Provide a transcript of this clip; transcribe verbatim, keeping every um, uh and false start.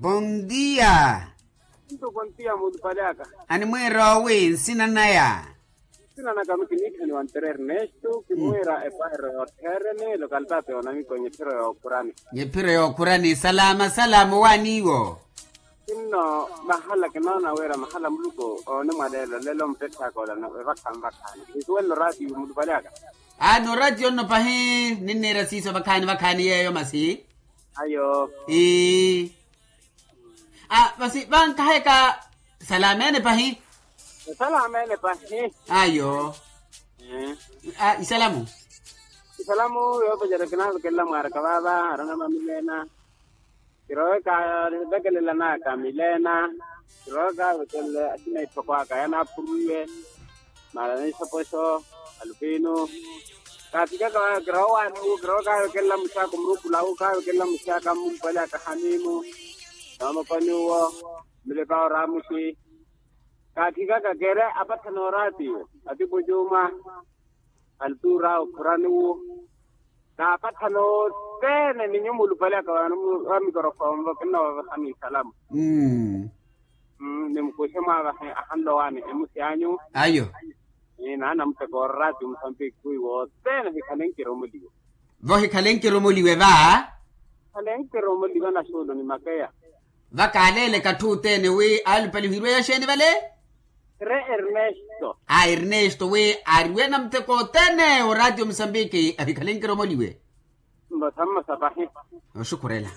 Bondia. Nto bondia muulupale aka. Animwiira owi nsina naya? Nsina naka mi kiniithaniwa ntere ernesto kimwiira epaheryo yoottheereni lokalitaati yoonamiko nyephiro yookhurani. Nyephiro yookhurani salama salama owaaniiwo. Sinno mahala kinoona wira mahala muluku ooni mwaleelo lelo muttetthaaka olano evakhanvakhani kisuwelelo raatiyo mulupale aka. Aani oratiyo nno pahi ninniira siiso vakhaani vakhaani yeeyo masi. Ayo. Ii. A masi vankaheka. Salameene pahi. Salameene pahi. Ayo. Isalamu. Isalamu yoopacerya kinaavekelela mwaaraka vaava arana vamileena. Kirowe kaavekelela naaka mileena. Kirowe kaavekelela asina ittoko aka yanaapurwiwe. Mara nisoposo alupinu. Kaatikaka kirowaani wu kirowa kaavekelela muxaaka omurukulahu kaavekelela muxaaka mmulupale aka hanimu. Noomokoni uwo. Mulipa oramuxi. Kaatikaka kere apathana oraatiyo atipo juma. Altura okhurani wu. Kaapathana othene ni nyumu olupale aka wa mikorofonvo kinnoovavehani isalamu. Nimukuxe mwaavahe ahanlowaani emusi anyu. Ayo. Naana muteko orati musambiki kuwi wothene ohikhale nkiromoliwe. Vohikhale nkiromoliwe va. Hikhale nkiromoliwe na xuulu ni makeya. Vakaaleele katthu othene wi alupalihiwe yaxeeni vale. Re ernesto. A ernesto wi ariwe na muteko othene orati musambiki ahikhale nkiromoliwe. Mbosa mmosa pahi. Oxukhurela.